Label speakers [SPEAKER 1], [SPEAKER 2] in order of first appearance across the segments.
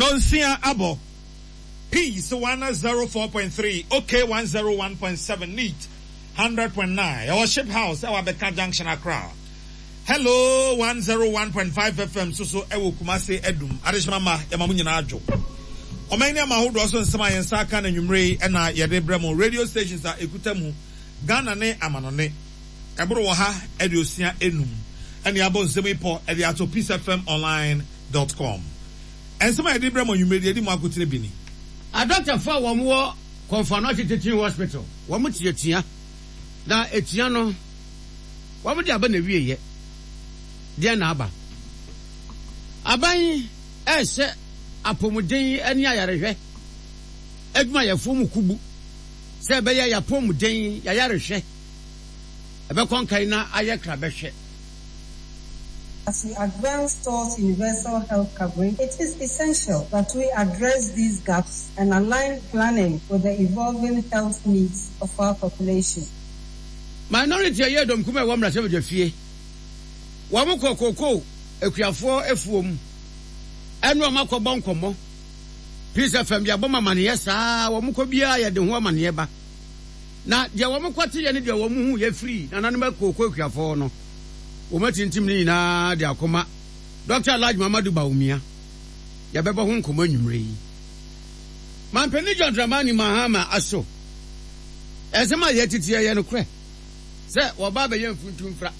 [SPEAKER 1] Nonsia abɔ. Peace 104.3, OK 101.7, Neat 100.9. Ɛwɔ Ship House ɛwɔ Abɛka Junction, Accra. Hello 101.5 FM nso so ɛwɔ Kumasi Adum. Adehyema mma, yɛma mo nyinaa adwo. Ɔman ne ama ahodoɔ so nsɛm a yɛn nsa aka no anwummere yi ɛna yɛde brɛ mo. Radio stations a ɛkuta mu, Ghana ne amanɔne, ɛboro 165 ɛne abɔ nsɛm yi pɔ ɛde ato peacefmonline.com. Nsɛm a yɛde brɛ mo anwummere deɛ ɛdi mu akotene bi ni.
[SPEAKER 2] Adɔktafo a wɔn wɔ Komfo Anokye Teaching Hospital wɔn te atua, na atua no wɔn de aba na awieɛ. Deɛn na aba? Aban rehyɛ apɔmuden ne ayarehwɛ adwumayɛfoɔ mu kubu sɛ ɛbɛyɛ yɛapɔmuden, yɛayarehwɛ ɛbɛkɔ nkan na ayɛ krabɛhwɛ.
[SPEAKER 3] As we advance towards universal health coverage, it is essential that we address these gaps and align planning with the evolving health needs of our population.
[SPEAKER 2] Minority a ɛyɛ dɔm kumaa a ɛwɔ mmarahyɛbadwafie, wɔn kɔ kookoo akuafoɔ afuom ɛne wɔn akɔbɔ nkɔmmɔ. Peace FM yɛabɔ mo amaneɛ saa, wɔn kɔ biara yɛde ho amaneɛ ba. Na deɛ wɔn kɔteeɛ ne deɛ wɔn huiɛ firii nananom akookoo akuafoɔ no, wɔn atintim ne nyinaa de akɔma Dɔkta Alhaji Muhammadu Bawumia. Yɛbɛbɔ ho nkɔmmɔ anwummerɛ yi. Mampanin John Dramani Mahama aso nsɛm a yɛatete ɛyɛ nokorɛ sɛ wɔba abɛyɛ mfuntumfra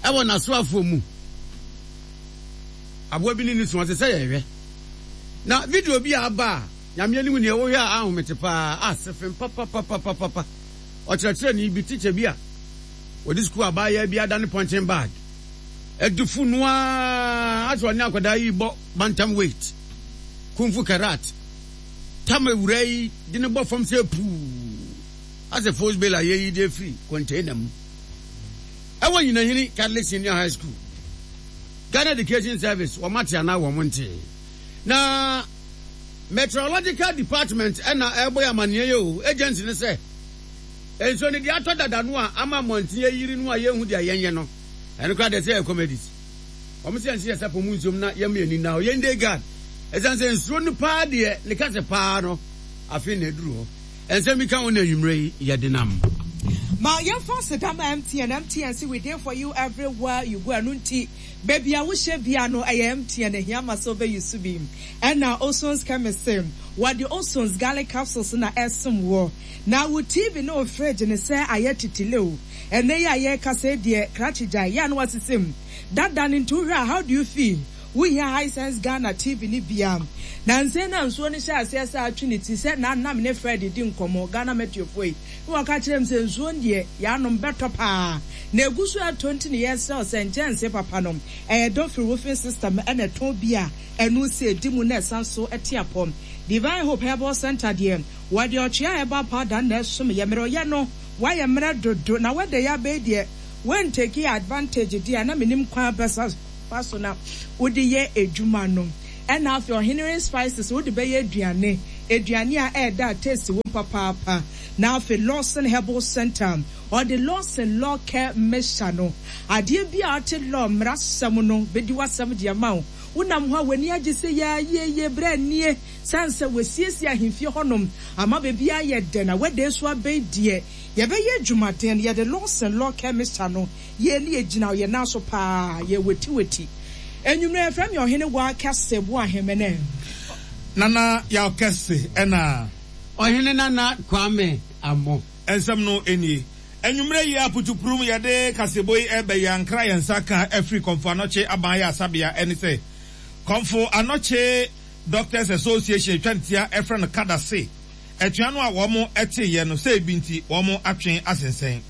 [SPEAKER 2] ɛwɔ n'asoafoɔ mu. Aboa bi ne ne su ɔte sɛ yɛhwɛ. Na video bi a aba a Nyame anim nie wohwɛ a ahomete paa asefem papapapapapa. Ɔkyerɛkyerɛni bi, teacher bi a wɔde sukuu abaayaa bi adane punching bag adi fu no ara asɛ ɔne akwadaa yi bɔ bantam weight, kung fu karat, tam awuraa yi de no bɔ fam sɛ puu asɛ force bail a yɛyi de afiri container mu ɛwɔ Nyinahini Catholic Senior High School. Ghana Education Service wɔn ate anaa wɔn ntee. Na Meteorological Department ɛna ɛrebɔ yɛ amaneɛ yɛ o agency no sɛ nsuo no deɛ atɔ dada no a ama mmɔnten ayiri no a yɛnhu deɛ yɛnyɛ no ɛno koraa deɛ sɛ yɛ comedies. Wɔn sɛ yɛnhyɛ yɛn sapɔ mu nsuom na yɛmma yɛn ani nna hɔ yɛn day guard ɛsiane sɛ nsuo no paa deɛ ne kɛse paa no afei na aduru hɔ. Nsɛm bi ka ho na anwummerɛ yi yɛde nam.
[SPEAKER 4] Ma yɛmfa aseda ma MTN, MTN se we dey for you everywhere you go ɛno nti baabi a wohyɛ biara no ɛyɛ MTN ɛhia ma sɛ wobɛ use bi. Ɛna Oson's Chemist se wɔde Oson's Garlic Capsules na ɛsom woɔ. Na wo TV ne wo fridge no sɛ ayɛ titile o. Ɛnɛ yi a yɛrekasa yi deɛ krakye gyae yɛ a na wasisi mu dada no nti wohwɛ a how do you feel? Wohia Hisense Ghana TV no bi a? Nansa yi na nsuo no hyɛɛ aseɛ sɛ atwe ne ti sɛ na na me ne Fred redi nkɔmmɔ, Ghana Meteofoɔ yi, na wɔka kyerɛɛ me sɛ nsuo no deɛ yɛanom bɛtɔ paa na ɛgu so ɛtɔ nti na yɛresrɛ wo sɛ nkyɛnse papa no ɛyɛ Dofri Roofing System na ɛtɔn bi a ɛno sɛ ɛdi mu na ɛsan so te apɔ. Divine Hope Herbal Centre deɛ wɔde ɔtwea herbal powder na ɛsom yɛ mmerɛwyɛ no Wayɛ mmerɛ dodo na wɛda yi abɛyi deɛ woantake advantage deɛ a na menim kwan bɛsa fa so na wode yɛ adwuma no ɛna afei ɔhene spices wode bɛyɛ aduane aduane a ɛɛdɛ a taste wom papaapa na afei Lawson Herbal Center ɔde Lawson Law Care Mixture no adeɛ bi a ɔte law mmara sɛm no bɛdi w'asɛm de ama wo wonam hɔ a w'ani agye sɛ yaa yie yie berɛ nie Sane sɛ wɔasiesie ahemfie hɔnom ama baabiara ayɛ dɛ na weather nso abɛn deɛ, yɛbɛyɛ adwumaden. Yɛde Lawson Law Care Mixture no yɛ ne yɛgyina yɛn nan so paa, yɛwatiwati. Anwummerɛ yɛfrɛ me Ɔhene Waa Kɛse Boahemene.
[SPEAKER 1] Nana Yaw Kɛse ɛna.
[SPEAKER 2] Ɔhene Nana Kwame Amoh.
[SPEAKER 1] Nsɛm no nie. Anwummerɛ yi ara putupurum yɛde kaseɛbɔ yi reba yi ankra yɛn nsa ka afiri Kɔmfo Anɔkye Aban Ayaresabea ɛne sɛ Kɔmfo Anɔkye Doctors Association atwa ne tia frɛ no kada se atua no a wɔn teeɛ no sɛ ebi nti wɔn atwe asensɛn.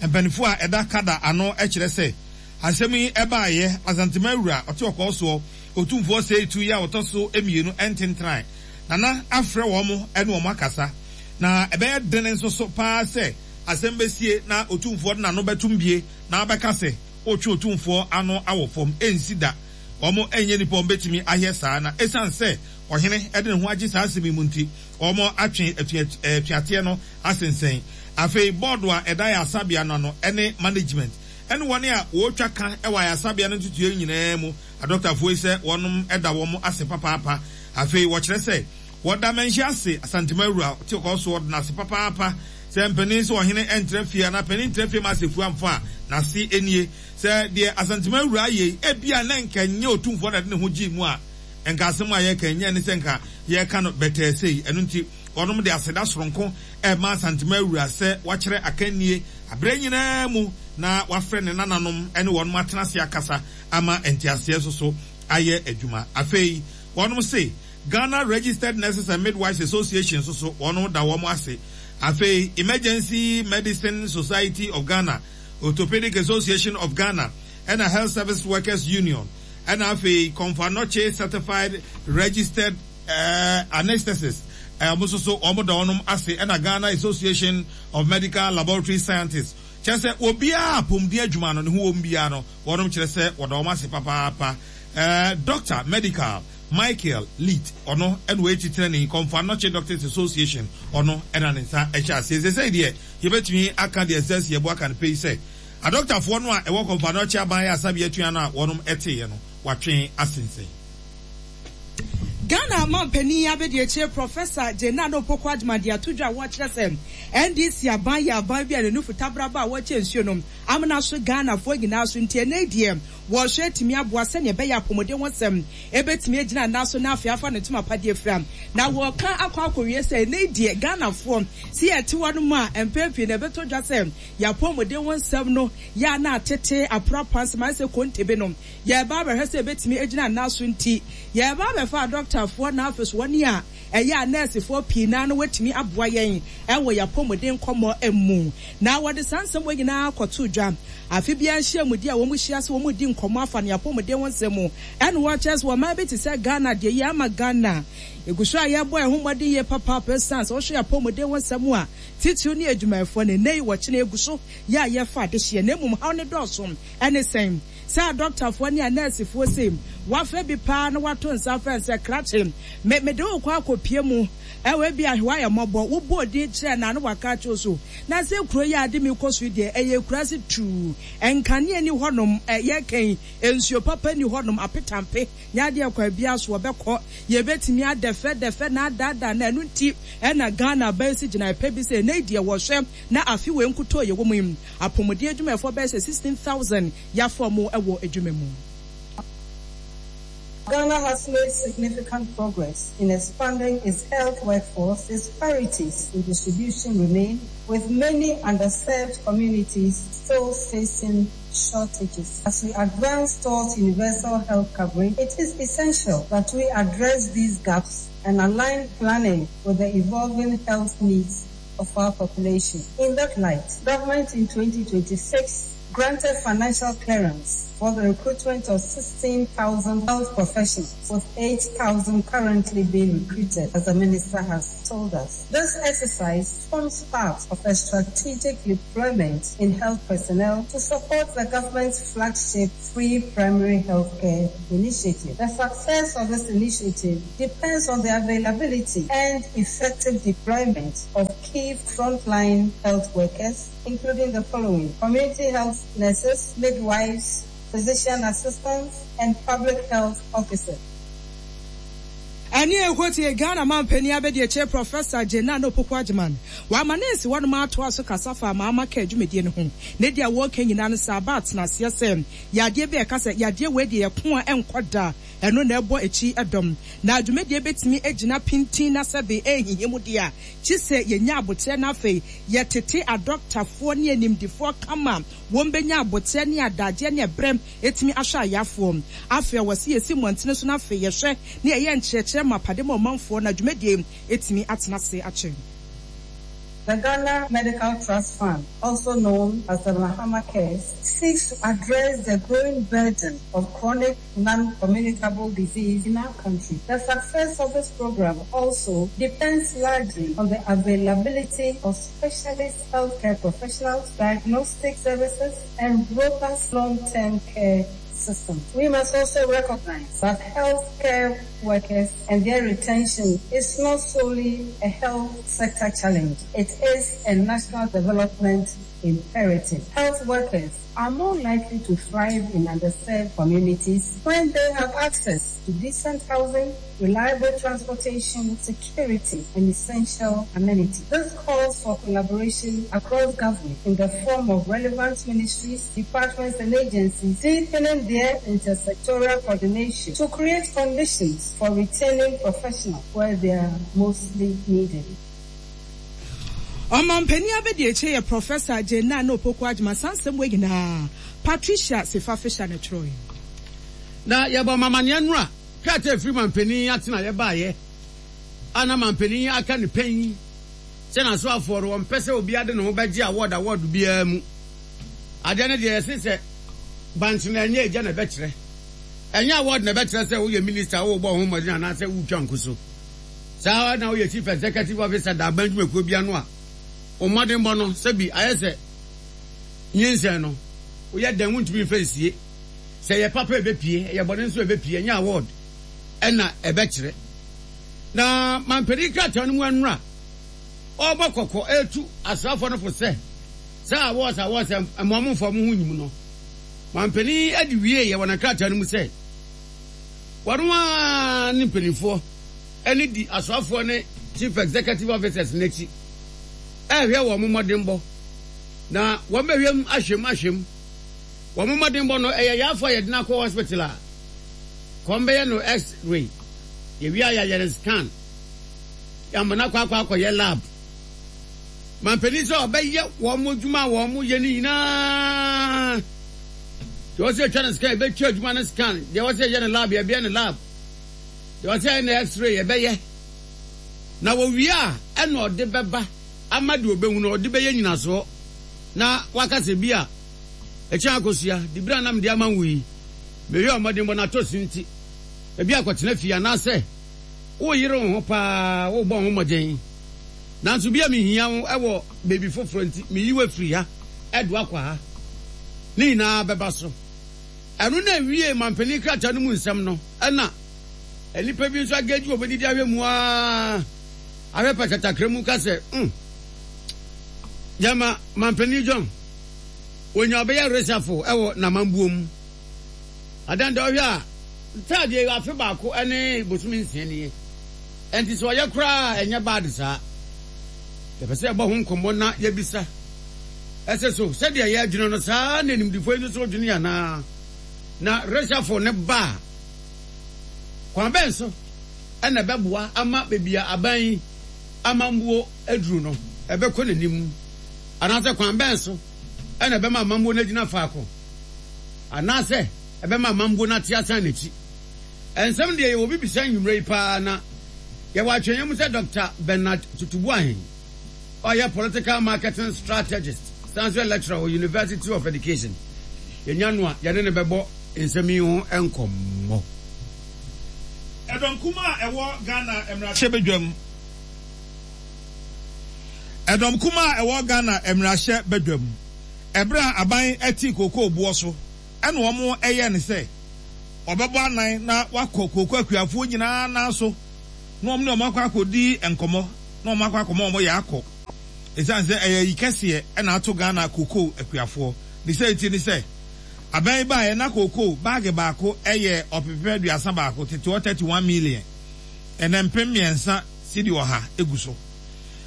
[SPEAKER 1] Mpaninfoɔ a ɛda kada ano kyerɛ sɛ asɛm yi baeɛ Asantema wura ɔte ɔkɔɔ soɔ Otumfoɔ Seitu yi a ɔtɔ so mmienu ntentrae Nana afrɛ wɔn ne wɔn akasa na ɛbɛyɛ dene nso so paa sɛ asɛm bɛsie na Otumfoɔ de n'ano bɛtom bie na abɛka sɛ ɔretwe Otumfoɔ ano awɔ fam ɛnsi da. Wɔnyɛ nnipa a wɔbɛtumi ayɛ saa, na ɛsiane sɛ ɔhene de ne ho agye saa asɛm yi mu nti, wɔatwe atuateɛ no asensɛn. Afei bɔɔdo a ɛda ayaresabea no ano ne management ne wɔn a wɔretwa ka wɔ ayaresabea no ntotoeɛ nyinaa mu adɔktafoɔ yi sɛ wɔn da wɔn ase papaapa. Afei wɔkyerɛ sɛ wɔda Manhyia ase Asantema Awura te kɔɔ so ɔde n'ase papaapa sɛ mpanin sɛ ɔhene ntra fie anaa panin ntra fie ma asefua amfa a n'ase nie. Sɛ deɛ Asantema Awura ayɛ yi ebia na nka ɛnyɛ Otumfoɔ na ɛde ne ho gyee mu a nka asɛm a yɛreka yi nyɛ ne sɛ nka yɛreka no bɛtɛɛ sei. Ɛno nti wɔnom de aseda soronko rema Asantema Awura sɛ wakyerɛ akannie aberɛ nyinaa mu na wafrɛ ne nananom ne wɔnom atena ase akasa ama nteaseɛ nso so ayɛ adwuma. Afei wɔnom se Ghana Registered Nurses and Midwives Association nso so wɔnom da wɔn ase. Afei Emergency Medicine Society of Ghana, Orthopedic Association of Ghana ɛna Health Service Workers Union ɛna afei Komfo Anokye Certified Registered Anaesthetist wɔn nso so wɔn da wɔnom ase ɛna Ghana Association of Medical Laboratory Scientists kyerɛ sɛ obiara a apɔmuden adwuma no ne ho wɔm biara no wɔnom kyerɛ sɛ wɔda wɔn ase papaapa. Doctor Medical Michael Leet ɔno ɛna ɔyɛ titenani Komfo Anokye Doctors Association ɔno ɛna ne nsa ɛhyɛ aseɛ. Seesei deɛ yɛbɛtumi aka deɛ ɛsɛ sɛ yɛbɔ aka no pɛ yi sɛ adɔktafoɔ no a ɛwɔ Komfo Anokye aban ayarasabea atua no a wɔnom ɛteeɛ no wɔatwe asensɛn.
[SPEAKER 4] Ghana manpanin abadiakyire Professor Jane Nana Opoku Agyemang de ato dwa a wɔkyerɛ sɛ NDC aban yɛ aban bi a ne nufu tabraba a wɔkyɛ nsuo no amena so Ghanafoɔ nyinaa so nti ɛnnɛ yi deɛ wɔrehwɛ atumi aboa sɛdeɛ ɛbɛyɛ apɔmuden ho nsɛm ɛbɛtumi agyina nan so na afei afa ne ntoma pa de afira. Na wɔreka akɔ akɔwie sɛ ɛnnɛ yi deɛ Ghanafoɔ sɛ yɛte hɔ nom a mpɛn pii no ɛbɛtɔ dwa sɛ yɛn apɔmuden ho nsɛm no yɛ a na atete aprapra nsɛm ayɛ sɛ kontebe no Yɛreba abɛhwɛ sɛ ebetumi agyina nna so nti, yɛreba abɛfa adɔktafoɔ na afei nso wɔn a ɛyɛ anɛɛsefoɔ pii no ara na wɔatumi aboa yɛn wɔ yɛn apɔmuden nkɔmmɔ mu. Na wɔde saa nsɛm wei nyinaa kɔtoo dwa. Afe biara nhyiamudi a wɔhyia sɛ wɔredi nkɔmmɔ afa ne apɔmuden ho nsɛm mu ɛna wɔkyerɛ sɛ ɔman bi te sɛ Ghana deɛ yei ama Ghana yɛgu so a yɛrebɔ yɛn ho mmɔden yie papaapa ɛsiane sɛ wohwɛ yɛn apɔmuden ho nsɛm a titiriw ne adwumayɛfoɔ no ɛnnɛ yi wɔkyena yɛgu so yɛ a yɛfa adehyeɛ na mmom haw no dɔɔso ɛne sɛn? Sɛ adɔktafoɔ ne anɛɛsefoɔ sei, wɔafrɛ bi paa na wɔato nsa afrɛ no sɛ, Krakye, me, mede wo rekɔ akɔpue mu wɔ ebia ahwewa ayɛ mmɔbɔ. Wobɔɔ din kyerɛɛ no a, na waka akyerɛ wo so. Na sɛ kuro yi a ade me rekɔ so yi deɛ, ɛyɛ akuraase tuu. Nkanea nni hɔnom, ɛ, yɛreka yi, nsuo papa nni hɔnom, apetampe nyɛ adeɛ kwan biara so wɔbɛkɔ. Yɛbɛtumi adɛfɛdɛfɛ na adaadaa no. Ɛno nti na Ghana aban asi gyinaeɛ pa bi sɛ, ɛnnɛ yi deɛ wɔhwɛ na afe wei nkutoo yɛwɔ mu yi, Apɔmuden adwumayɛfoɔ bɛyɛ sɛ 16,000 yɛafa wɔn wɔ adwuma mu.
[SPEAKER 3] Ghana has made significant progress in expanding its health workforce, disparities in distribution remain, with many underserved communities still facing shortages. As we advance towards universal health coverage, it is essential that we address these gaps and align planning with the evolving health needs of our population. In that light, government in 2026 granted financial clearance for the recruitment of 16,000 health professionals, with 8,000 currently being recruited, as the minister has told us. This exercise forms part of a strategic deployment in health personnel to support the government's flagship free primary healthcare initiative. The success of this initiative depends on the availability and effective deployment of key frontline health workers, including the following: community health nurses, midwives, physician assistants, and public health officers.
[SPEAKER 4] Ɛne ɛkɔ tie Ghana manpanin abadiakyire Professor Jane Nana Opoku Agyemang. Wama ne nsi hɔnom atoa so kasa fa Mahama Care dwumadie no ho. Ne deɛ wɔreka nyinaa no sɛ aba atenaseɛ sɛ yadeɛ bi a ɛka sɛ yadeɛ wei deɛ yɛko a ɛnkɔ da, ɛno na ɛbɔ akyi dɔm. Na dwumadie bɛtumi agyina pintinn na sɛbe ɛnhinhim deɛ a, kyi sɛ yɛnya aboterɛ na afei yɛtete adɔktafoɔ ne animdifoɔ kama wɔbɛnya aboterɛ ne adagyeɛ ne ɛberɛ atumi ahwɛ ayafoɔ. Afei ɛwɔ sɛ yɛsi mmɔntene so na afei yɛhwɛ na yɛyɛ nkyerɛkyerɛ mapa de ma ɔmanfoɔ na dwumadie atumi atena ase akyɛ.
[SPEAKER 3] The Ghana Medical Trust Fund, also known as the Mahama Cares, seeks to address the growing burden of chronic non-communicable disease in our country. The success of this program also depends largely on the availability of specialist healthcare professionals, diagnostic services, and robust long-term care systems. We must also recognize that healthcare workers and their retention is not solely a health sector challenge, it is a national development imperative. Health workers are more likely to thrive in underserved communities when they have access to decent housing, reliable transportation, security, and essential amenities. This calls for collaboration across government in the form of relevant ministries, departments, and agencies, deepening their intersectoral coordination to create conditions for retaining professionals where they are mostly needed.
[SPEAKER 4] Ɔmanpanin abadiakyire yɛ Professor Jane Naana Opoku Agyemang. Saa nsɛm wei nyinaa, Patricia Sefa Fisher na ɛtwerɛeɛ.
[SPEAKER 2] Na yɛbɔ mo amaneɛ nnora krataa a ɛfiri manpanin atenaeɛ baeɛ a na manpanin aka no pɛn sɛ n'asoafoɔ no wɔmpɛ sɛ obiara de ne ho bɛgye award award biara mu. Adeɛ no deɛ yɛse sɛ bankye no ɛnyɛ egya na ɛbɛkyerɛ. Ɛnyɛ award na ɛbɛkyerɛ sɛ woyɛ minister a worebɔ wo ho mmɔden anaasɛ woretwa nko so. Saa ara na woyɛ Chief Executive Officer da aban dwumakuo bi ano a, wo mmɔdenbɔ no sɛbi ayɛ sɛ nyinsɛn no, woyɛ dɛn wontumi mfa nsie. Sɛ ɛyɛ papa a ɛbɛpue, ɛyɛ bɔne nso a ɛbɛpue, ɛnyɛ award na ɛbɛkyerɛ. Na mampanin krataa no mu anura ɔrebɔ kɔkɔ retu asraafoɔ no fo sɛ saa awards awards mma wɔn mfa wɔn ho nyi mu no, mampanin de wieeɛ wɔ ne krataa no mu sɛ, Wɔn ara ne mpanimfoɔ ne di asoafoɔ ne Chief Executive Officers no akyi rehwɛ wɔn mmɔdenbɔ, na wɔbɛhwɛ mu ahwɛ mu ahwɛ mu. Wɔn mmɔdenbɔ no, ɛyɛ yarefoɔ a yɛde no akɔ hospital a, kɔm bɛyɛ no X-ray, yɛwie a yɛayɛ no scan, yɛama no akɔ akɔ akɔyɛ lab. Mampanin sɛ ɔbɛyɛ wɔn adwuma a wɔyɛ no nyinaa. Deɛ ɔsɛ yɛtwa no scan, yɛbɛtwa adwuma no scan. Deɛ ɔsɛ yɛyɛ no lab, yɛbɛyɛ no lab. Deɛ ɔsɛ yɛyɛ no x-ray, yɛbɛyɛ. Na wɔwie a, ɛna ɔde bɛba ama deɛ ɔbɛhu no, ɔde bɛyɛ nyinasoɔ. Na waka sɛ bi a, ɛkyɛn akosua, diberɛ a na mede ama wo yi, meyɛɛ ɔmmɔdenbɔ na atɔ sin nti, ebi akɔtena fie anaasɛ woreyere wo ho paa, worebɔ wo ho mmɔden. Nanso bi a mehia wo wɔ baabi foforɔ nti, meyi wo afiri ha de wo akɔ ha. Ne nyinaa bɛba so. Ɛno na ɛwiee mampanin krataa no mu nsɛm no. Ɛna nnipa bi nso agagyi wɔbɛdidi ahwɛ mu ara ahwɛ pɛtɛtakra mu ka sɛ, mm, gyama mampanin John, wɔnya ɔbɛyɛ resafo wɔ n'amambuo mu. Adan dɛ ɔhwɛ a, ntaadeɛ afe baako ne bosome nsia nie. Ɛnti sɛ ɔyɛ koraa a ɛnyɛ bad saa. Yɛpɛ sɛ yɛbɔ ho nkɔmmɔ na yɛbisa sɛ, So sɛdeɛ yɛredwene no saa ara na animdefoɔ yi nso so redwene anaa? Na reshuffle no ba a, kwan bɛn so na ɛbɛboa ama baabi a aban yi amammuo aduru no ɛbɛkɔ n'anim? Anaasɛ kwan bɛn so na ɛbɛma amammuo no agyina faako? Anaasɛ ɛbɛma amammuo no ate asan n'akyi? Nsɛm deɛ yɛwɔ bi bisa anwummerɛ yi paa na yɛwɔ atwɛnyɛ mu sɛ Dɔkta Bernard Tutu Boahen a ɔyɛ Political Marketing Strategist san nso yɛ Lecturer wɔ University of Education. Yɛnya no a yɛne no bɛbɔ nsɛm yi ho nkɔmmɔ.
[SPEAKER 1] Ɛdɔm kumaa a ɛwɔ Ghana mmarahyɛbadwam Ɛdɔm kumaa a ɛwɔ Ghana mmarahyɛ badwam ɛberɛ a aban te kookoo boɔ so ɛna wɔn yɛɛ no sɛ wɔbɛbɔ anan na wɔakɔ kooko akuafoɔ nyinaa nan so na wɔn ne wɔn akɔ akɔdi nkɔmmɔ na wɔn akɔ akɔma wɔn yɛ akɔ. Ɛsiane sɛ ɛyɛ ayi kɛseɛ na ato Ghana kooko akuafoɔ. Ne sɛ nti ne sɛ, abɛn yi baeɛ na kooko baage baako yɛ ɔpepepɛ 31, tete hɔ 31 million, ɛnɛ 3000 sidi 100 gu so.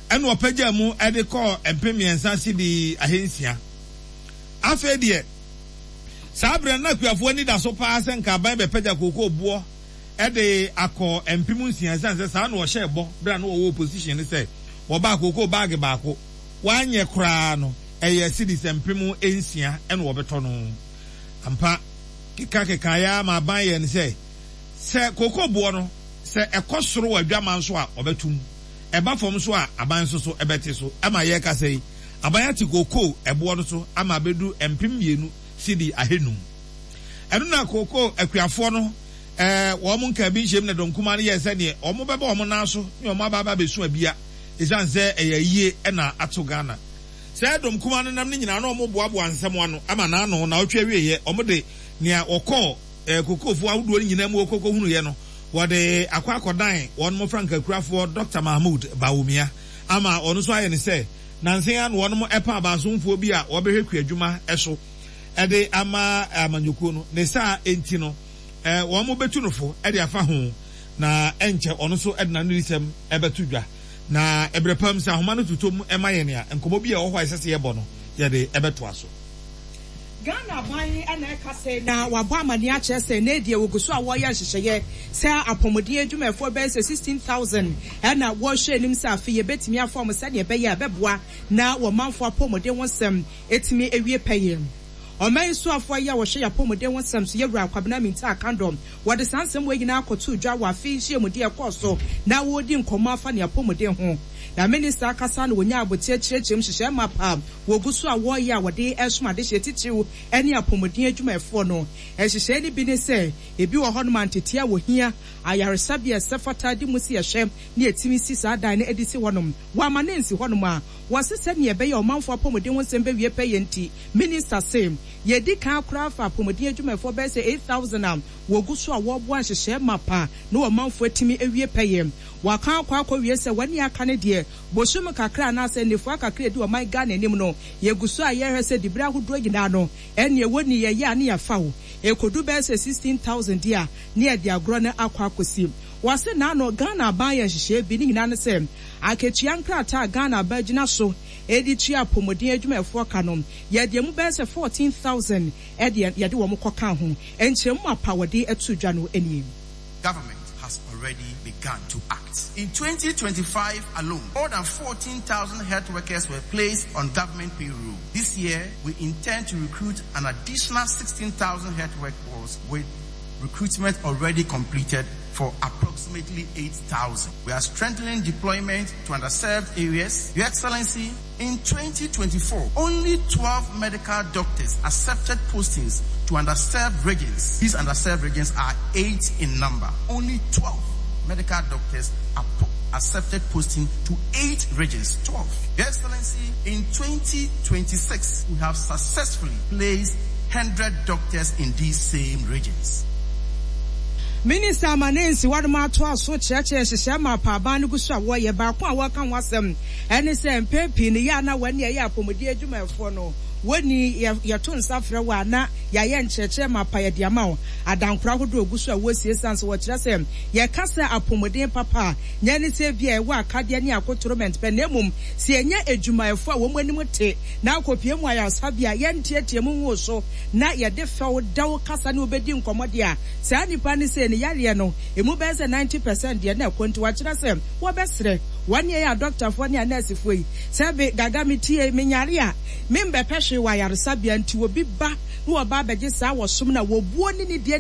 [SPEAKER 1] Ɛna wɔpagyaa mu de kɔɔ 3000 sidi 600. Afei deɛ, Saa berɛ no, na akuafoɔ ani da so paa sɛ nka aban bɛpagya kookoo boɔ de akɔ 6000 ɛsiane sɛ saa na wɔhyɛɛ bɔ berɛ a na wɔwɔ opposition no sɛ wɔbaa kookoo baage baako, wɔanyɛ koraa no ɛyɛ cedis 6000 na wɔbɛtɔ no. Ampa, keka kekaeɛ ara ma aban yɛɛ no sɛ, sɛ kookoo boɔ no sɛ ɛkɔ soro wɔ adwaman so a wɔbɛto mu, ɛba fam nso a aban nso so bɛte so. Ɛma yɛrekasa yi, Aban ate kookoo ɛboɔ no so ama abɛdu 2000 sidi ahanum. Ɛno na kookoo akuafoɔ no wɔn nkaa bi nhyiam na dɔm kumaa no yɛɛ sɛ neɛ wɔn bɛba wɔn nan so ne wɔn aba aba abɛsu abia ɛsiane sɛ ɛyɛ ayie na ato Ghana. Saa dɔm kumaa no nam no nyinaa na wɔn boaboa nsɛm ano ama n'ano naawɔtwe awieɛ wɔn de nea wɔkɔɔ kokoofoɔ ahodoɔ no nyinaa mu wɔkɔkɔhunuiɛ no. wɔde akɔ akɔdan wɔnom frankakurafoɔ Dɔkta Mahmood Bawumia ama ɔno nso ayɛ no sɛ nansa yi ara na wɔnom ɛpa abaasomfoɔ bi a wɔbɛhwɛ kuadwuma so de ama amanyɔkuo no. Ne saa nti no wɔn bɛtu no fo de afa ho na ɛnkyɛ ɔno nso de n'anonisɛm bɛto dwa. Na ɛberɛ pa mu sɛ ahoma no totɔ mu ma yɛn a, nkɔmmɔ bi a ɛwɔ hɔ a ɛsɛ sɛ yɛbɔ no, yɛde bɛtoa so.
[SPEAKER 4] Ghana aban na ɛka sɛ na wɔabɔ amaneɛ akyerɛ sɛ nnɛ deɛ wɔgu so a wɔreyɛ nhyehyɛeɛ sɛ apɔmuden adwumayɛfoɔ bɛyɛ sɛ 16,000 na wɔrehwɛ anim sɛ afe yɛbɛtumi afa wɔn sɛdeɛ ɛbɛyɛ a ɛbɛboa na wɔn manfoɔ apɔmuden ho nsɛm atumi awie pɛyɛ. Ɔman yi soafoɔ yi a ɔhwɛ yɛn apɔmuden ho nsɛm so, Yɛwura Kwabena Mintah Akandoh, wɔde saa nsɛm wei nyinaa kɔtoo dwa wɔ afe yi nhyiamudie a ɛkɔɔ so na wɔredi nkɔmmɔ afa ne apɔmuden ho. Na Minista akasa na wɔnyaa aboteɛ kyerɛkyerɛ mu nhyehyɛɛ map a wɔgu so a wɔreyɛ a wɔde resom adehyeɛ titiriw ne apɔmuden adwumayɛfoɔ no. Nhyehyɛe no bi ne sɛ, ebi wɔ hɔnom a ntetee a wɔhia, ayaresabea a ɛsɛ fata de mu si ɛhwɛ na yɛtumi si saa dan no de si hɔnom. Wɔamma no ansi hɔnom a, wɔse sɛnea ɛbɛyɛ a ɔmanfoɔ apɔmuden ho nsɛm bɛwie pɛyɛ nti, Minista se, Yɛadi kan koraa afa apɔmuden adwumayɛfoɔ bɛyɛ sɛ 8,000 a wɔgu so a wɔreboa nhyehyɛe mapa na ɔmanfoɔ atumi awie pɛyɛ. Wɔakan akɔ akɔwie sɛ wɔn a aka no deɛ, bosome kakra anaasɛ nnafua kakra a ɛdi ɔman Ghana anim no, yɛgu so a yɛrehwɛ sɛ diberɛ ahodoɔ nyinaa no, ɛnneɛ wɔnni yɛyɛ a ne yɛafa wo. Ɛkɔdu bɛyɛ sɛ 16,000 deɛ a, ne yɛde agorɔ no akɔ akɔsi. Wɔse naano Ghana aban ayɛ nhyehyɛe bi, ne nyinaa ne sɛ, akatua nkrataa a Ghana aban gyina so de tua apɔmuden adwumayɛfoɔ ka no, yɛde ɛmu bɛyɛ sɛ 14,000 de yɛde wɔn kɔkaa ho. Nkyerɛmu mapa a wɔde too dwa no nie.
[SPEAKER 5] Government has already begun to act. In 2025 alone, more than 14,000 health workers were placed on government payroll. This year, we intend to recruit an additional 16,000 health workers with recruitment already completed for approximately 8,000. We are strengthening deployment to underserved areas. Your Excellency, in 2024, only 12 medical doctors accepted postings to underserved regions. These underserved regions are 8 in number. Only 12 medical doctors accepted posting to 8 regions. 12. Your Excellency, in 2026, we have successfully placed 100 doctors in these same regions.
[SPEAKER 4] Minista Amanansi wɔnom atoa so kyerɛkyerɛ nhyehyɛɛ ma apaaban no gu so a wɔyɛ. Baako a wɔka ho asɛm ne sɛ mpɛn pii no yɛ a na wɔne ɛyɛ apɔmuden adwumayɛfoɔ no wɔnni yɛ yɛto nsa frɛ wo a na yɛayɛ nkyerɛkyerɛ mapa yɛde ama wo. Adankora ahodoɔ gu so a wɔresie esiane sɛ wɔkyerɛ sɛ yɛka sɛ apɔmuden papa a nyɛ ne sɛ ebia ɛwɔ akadeɛ ne akotoromɛnt pɛ na mmom sɛ yɛnya adwumayɛfoɔ a wɔn anim te na akɔpue mu ayaresabea a yɛnteatea mu nwoo so na yɛde fɛw dɛw kasa ne wo bɛdi nkɔmmɔ deɛ a, saa nipa no sei ne yareɛ no ɛmu bɛyɛ sɛ 90 percent deɛ na ɛkɔ nti wakyerɛ sɛ wɔbɛsrɛ wɔn ne yɛn adɔktafoɔ ne anɛɛsefoɔ yi sɛ be gaga me tie menyare a membɛpɛ hwee wɔ ayaresabea nti obi ba na wɔba abɛgye saa wɔsom no a wɔbuo ne nidie ne.